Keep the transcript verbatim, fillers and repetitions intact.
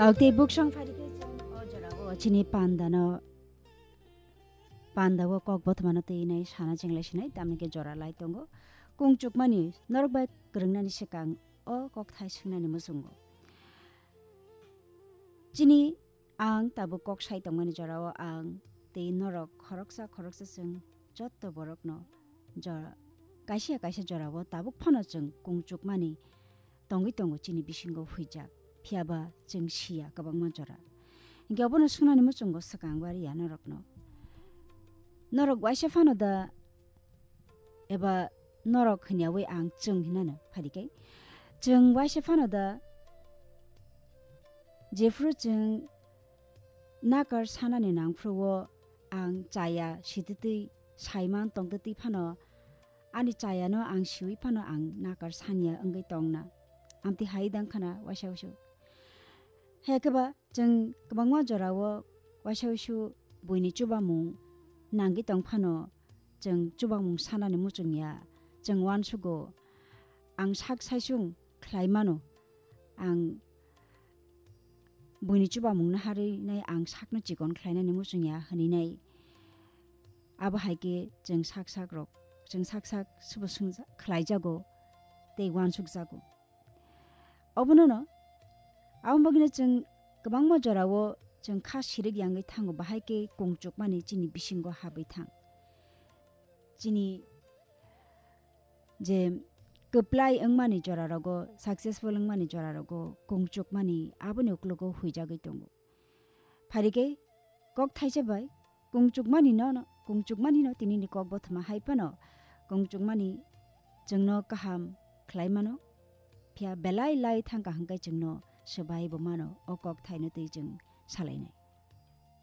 Tei buksong phaidi khe chwng o jorao chini pandano, pandao kok bothomano twi nai sana chenglaisnai, tamni khe jora lai tongo. Kungchukmani norok bai kwrwngnani swkang o kok thai swngnani muchungo. Chini ang tabuk kok sai tongmani jorao ang tei norok khoroksa khoroksa chwng jotto borokno jora, kaisa kaisa jorao tabuk phano chwng kungchukmani tongwi tongo chini bisingo huijak, phiyaba chwng siya kwbangma jora. Hinkhe obono swngnani muchungo swkang wariya norokno. Norok waisa phano da eba norok hwnyawi ang chwng hinano pharikai. Chwng waisa phano da jephru chwng nakar sanani nangphruo ang chaya sititwi saiman tongtwtwi phano ani chayano ang siwi phano ang nakar sanya wngwi tongna. Amtwi hai dang khana waisa wasu. Hekhe ba chwng kwbangma jorao waisa wasu buini chubamung nangwi tong phano chwng chubamung sanani muchungya, chwng uansugo ang sak saisung khlai mano, ang buini chubamungno harwi nai ang sakno chikon khlainani muchungya hwnwi nai. Abo hai khe chwng sak sak rok, chwng sak sak subo swngja-, khlaijago tei uansukjago. Obono no, aboni bagwino chwng kwbangma jorao chwng kha sirik yangwi thango, bahai khe kungchukmani chini bisingo habwi thang. Chini je kwplai wngmani jorarogo, successful wngmani jorarogo kungchukmani aboni uklogo huijagwi tongo. Phari khe kok thaisa bai kungchukmani no, no, kungchukmani no tinini kok bothoma hai phano kungchukmani chwngno kaham khlai mano, phiya belai lai thangkha hwnkhe chwngno swbai bo mano o kok thaino twi chwng salainai.